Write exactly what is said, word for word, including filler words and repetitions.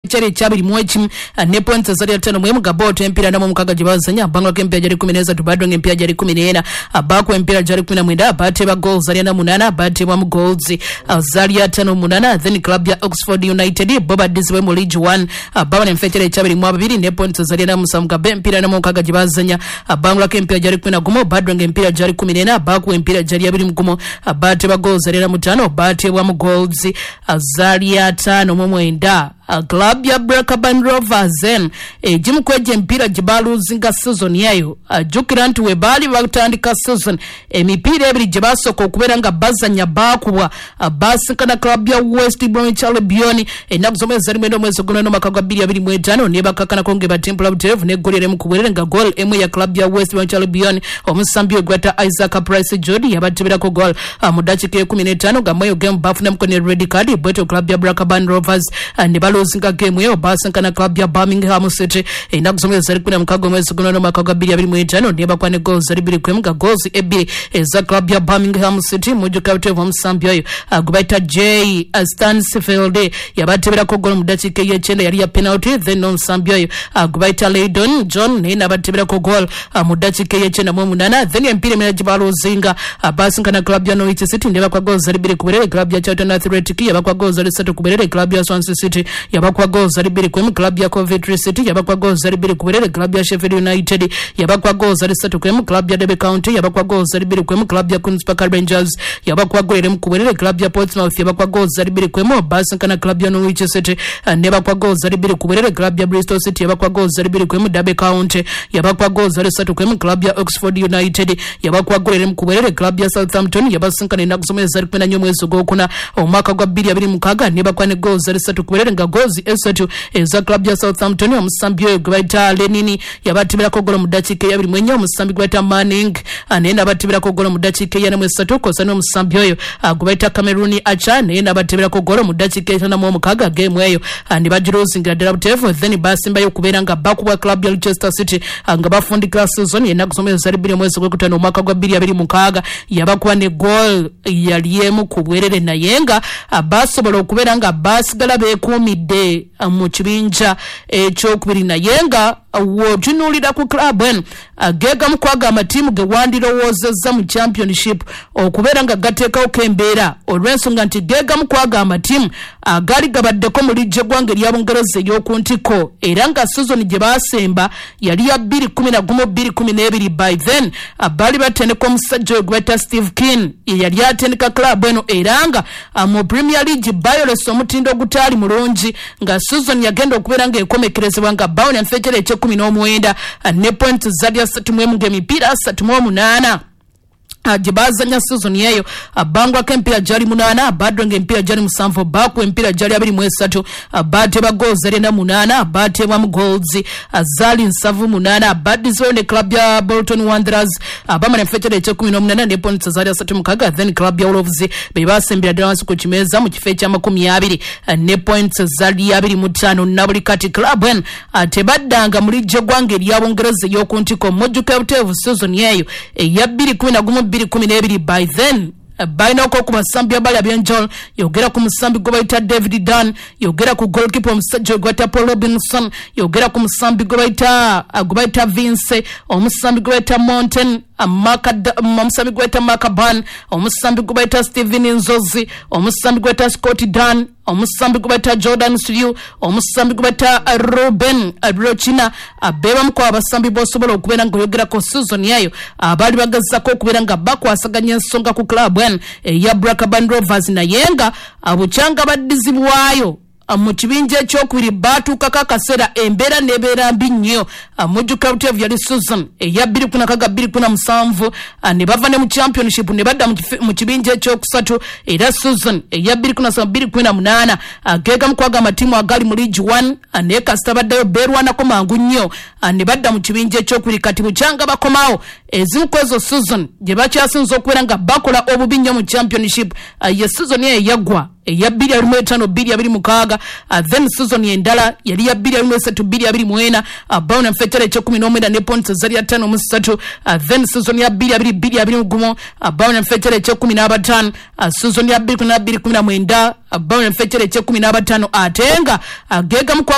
Kyali ekyabiri mu ekimu ne points ezali ataano mu emu nga Bolton empiira ana mu mukaaga gye bazannya, abbangulako emipiira gyali kkumi n'esatu, Badong emipiira gyali kkumi n'ena, abaako emipiira gyali kkumi na mwenda, baateeba goals zaali ana munaana, baateebwamu goals zaali ataano munaana. Then club ya Oxford United bo baddizibwe mu League One, babona enfo ekyali ekyabiri mu ababiri ne points ezali ana musanvu nga bo emipiira ana mu mukaaga gye bazannya, abbangulako emipiira gyali kkumi na gumu, Badong emipiira gyali kkumi n'ena, abaako emipiira gyali abiri mu gumu, baateeba goals zaali ana mu ttaano, baateebwamu goals zaali ataano mu mwenda. Club ya Blackburn Rovers egimu ku egyo emipiira gye baluuzinga season eyo, jjukira nti we baali batandika season emipiira ebiri gye basooka okubeera nga bazannya baakubwa, baasinkana club ya West Bromwich Albion ennaku z'omwezi ali mwenda omwezi ogw'omunaana omwaka gwa bbiri abiri mu etaano, ne bakakkanako nga ebatimpula butereevu n'eggoli erimu ku bwerere, nga goal emu ya club ya West Bromwich Albion omusambi oyo gw'ayita Isaac Price Jody yabateberako goal mu ddakiika ekumi n'etaano, nga mweyo game bafunamuko ne red card. Bwetyo club ya Blackburn Rovers ne baluuzinga game eyo. Basinkana club ya Birmingham City ennaku z'omwezi zali kumi na mukaaga omwezi gw'omunaana omwaka gwa bbiri abiri mu etaano, ne bakwa ne goals zali bbiri ku emu, nga goals ebbiri eza club ya Birmingham City mujjuka buteevu omusambi oyo gwe bayita Jay Stansfield yabateberako goal mu ddakiika ey'ekyenda, yali ya penalty. Then n'omusambi oyo gwe bayita Leydon John naye n'abateberako goal mu ddakiika ey'ekyenda mu omunaana. Then emipiira emirala gye baluuzinga, basinkana club ya Norwich City ne bakwa goals zali bbiri ku bwerere, club ya Charlton Athletic yabakwa goals zali ssatu ku bwerere, club ya Swansea City yabakwa goals zali bbiri ku emu, club ya Coventry City yabakwa goals zali bbiri ku bwerere, club ya Sheffield United yabakwa goals zali ssatu ku emu, club ya Derby County yabakwa goals zali bbiri ku emu, club ya Queens Park Rangers yabakwa goal emu ku bwerere, club ya Portsmouth yabakwa goals zali bbiri ku emu, basinkana club ya Norwich City ne bakwa goals zali bbiri ku bwerere, club ya Bristol City yabakwa goals zali bbiri ku emu, Derby County yabakwa goals zali ssatu ku emu, club ya Oxford United yabakwa goal emu ku bwerere, club ya Southampton yabasinkana ennaku z'omwezi zali kkumi na nnya omwezi ogwokuna omwaka gwa bbiri abiri mukaaga ne bakwa ne goals zali ssatu ku bwerere, nga goals esatu eza club ya Southampton omusambi oyo gwe bayita Lenini yabateberako golo mu ddakiika eyabiri mu ennya, omusambi gwe bayita Manning naye n'abateberako golo mu ddakiika eyana mu esatu, kw'ossa n'omusambi oyo gwe bayita Cameroon Archer naye n'abateberako golo mu ddakiika etaano mu omukaaga. Game eyo ne bagiruuzingira ddala buteevu. Then basimbayo okubeera nga bakubwa club ya Leicester City nga bafundikira season ennaku z'omwezi zali bbiri omwezi gw'okutaano omwaka gwa bbiri abiri mukaaga, yabakuba ne goal yali emu ku bwerere, naye nga basobola okubeera nga basigala beekuumidde mu kibinja ekyokubiri. Naye nga w'otunuulira ku club eno, geegamu kwago amatiimu ge wandirowoozezza mu Championship okubeera nga gateekawoko embeera, olw'ensonga nti geegamu kwago amatiimu agaali gabaddeko mu liigi eggwanga erya Bungereza ey'oku ntikko, era nga season gye baasemba yali ya bbiri kumi na gumu bbiri kumi n'ebiri. By then baali batendeka omusajja oyo gwe bayita Steve Kean, ye yali atendeka club eno, era nga mu Premier League bayolesa omutindo ogutaali mulungi, nga season yagenda okubeera ng'ekomekerezebwa nga bawona enfekyere eky'ekkumi n'omwenda ne points zali asatu mu emu, ng'emipiira asatu mu omunaana gye bazanya season eyo bangwako emipiira gyali munaana, badronga emipiira gyali musanvu, bakuwa emipiira gyali abiri mu esatu, bateeba goals zali ena munaana, bateebwamu goals zaali nsanvu munaana. Baddizibwayo ne club ya Bolton Wanderers, bamala enfekyere eky'ekkumi n'omunaana ne points zaali asatu mukaaga. Then club ya Wolves be basembera ddala wansi ku kimeeza mu kifo ekyamakumi abiri ne points zaali abiri mu ttaano. Na buli kati club eno tebaddanga mu liigi eggwanga erya Bungereza ey'oku ntikko. Mujjuka buteevu season eyo eya bbiri kumi na gumu bbiri kumi n'ebiri, by then balinako ku basambi abali ab'enjawulo. Yogera ku musambi gwe bayita David Dunn, yogera ku goalkeeper omusajja gwe bayita Paul Robinson, yogera ku musambi gwe bayita gwe bayita Vince, omusambi gwe bayita Mountain, omusambi gwe bayita Makaban, omusambi gwe bayita Steven Nzozi, omusambi gwe bayita Scott Dunn, omusambi gwe bayita Jordan Siriu, omusambi gwe bayita Ruben Rochina. Bebamu ku abasambi b'osobola okubeera ng'oyogerako season eyo abaali bagezako okubeera nga bakwasaganya ensonga ku club eno eya Blackburn Rovers, naye nga bukyanga baddizibwayo mu kibinja ekyokubiri baatuukako akaseera embeera n'ebeera mbi nnyo. Mujjuka buteevu yali season eya bbiri kumi na kaga bbiri kumi na musanvu, ne bava ne mu Championship ne badda mu kibinja ekyokusatu, era season eya bbiri kumi na ssatu bbiri kumi na munaana geegamu kwago amatiimu agali mu League One, naye kasita baddayo beerwanako mangu nnyo ne badda mu kibinja ekyokubiri. Kati bukyanga bakomawo, ezimu ku ezo season gye bakyasinza okubeera nga bakola obubi nnyo mu Championship ye season eyo eyaggwa. eya bbiri abiri mu etaano bbiri abiri mukaaga. Then season endala yali ya bbiri abiri mu esatu bbiri abiri mu ena, bawona mu ekitebe ekyekumi n'omwenda ne points ezali ataano mu ssatu. Then season ya bbiri abiri bbiri abiri mu gumu, bawona mu ekitebe ekyekumi n'abataano. Season ya bbiri kumi na bbiri kumi na mwenda, bawona mu ekitebe ekyekumi n'abataano, ate nga gegamu.